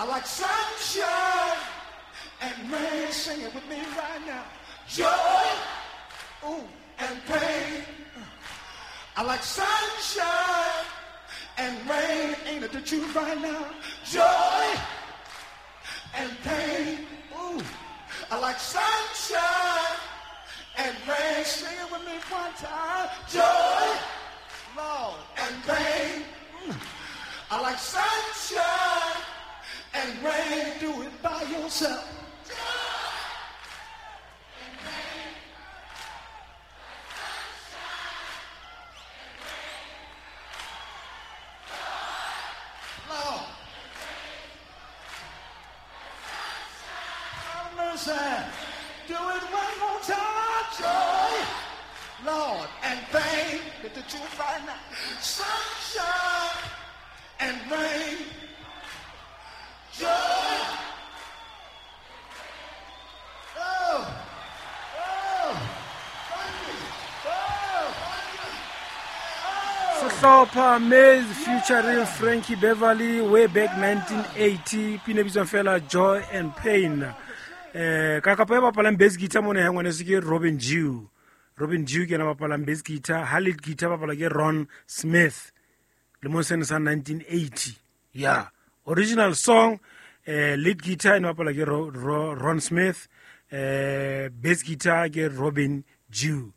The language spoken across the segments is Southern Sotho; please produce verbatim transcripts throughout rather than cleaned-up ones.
I like sunshine and rain. Sing it with me right now. Joy, ooh, and pain. I like sunshine and rain. Ain't it the truth right now? Joy and pain. Ooh, I like sunshine and rain. Sing it with me one time. Joy, Lord, and pain. Mm. I like sunshine and rain. Do it by yourself. Joy and pain. Sunshine and rain. Joy, Lord, and pain. Sunshine. Mercy. Do it one more time. Joy, Lord, and pain. Get the truth right now. Sunshine and rain. Joy. Oh, oh, thank you. Oh, thank you. Oh. Sehlopha Maze featuring Frankie Beverly way back nineteen eighty, pina bitswang fela Joy and Pain. Eh, ka kapa e bapalang bass guitar mona ya ngwaneso ke Robin Jew. Robin Jew ke yena bapalang bass guitar, ha lead guitar bapala ke Ron Smith. Lemong sena sa nineteen eighty. Yeah. Original song, eh, lead guitar e bapala ke Ro-, Ro-, Ron Smith, eh, bass guitar ke Robin Jew.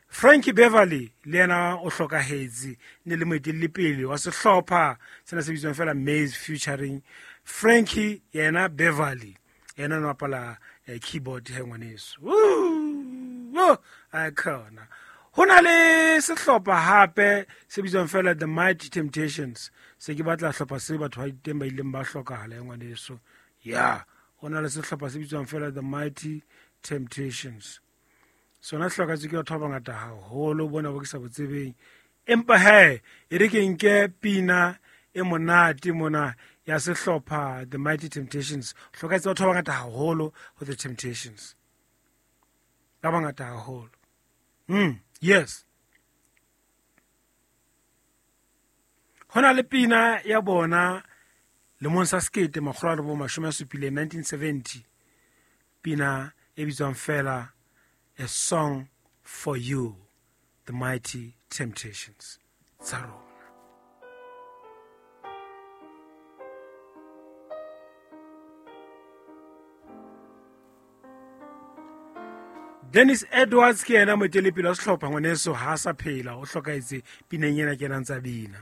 Frankie Beverly le yena o hlokahetse, ne le moetelli pele wa sehlopha sena se bitswang fela Maze featuring Frankie yena Beverly. Yena o bapala, eh, keyboard he ngwaneso. Woo! A khona. Ho na le sehlopha hape se bitswang fela The Mighty Temptations. Se ke batla hlopha se batho ba teng ba ileng ba hlokahala ngwaneso. Yeah, ho na le sehlopha se bitswang fela The Mighty Temptations. Sona hlokatse ke batho ba bangata haholo bona bo ke sa botsebeng. Empa he, e re ke nke pina e monate mona ya sehlopha The Mighty Temptations. Hlokatse batho ba bangata haholo ho The Temptations. Ba bangata haholo. Mm, yes. Ho na le pina ya bona lemong sa sekete makgolo a robong mashome a supileng, nineteen seventy. Pina e bitswang fela A Song for You, The Mighty Temptations. Tsa rona. Dennis Edwards ke yena moetelepele wa sehlopha ngwaneso, ha a sa phela, o hlokahetse pineng ena ke yena ntsa bina.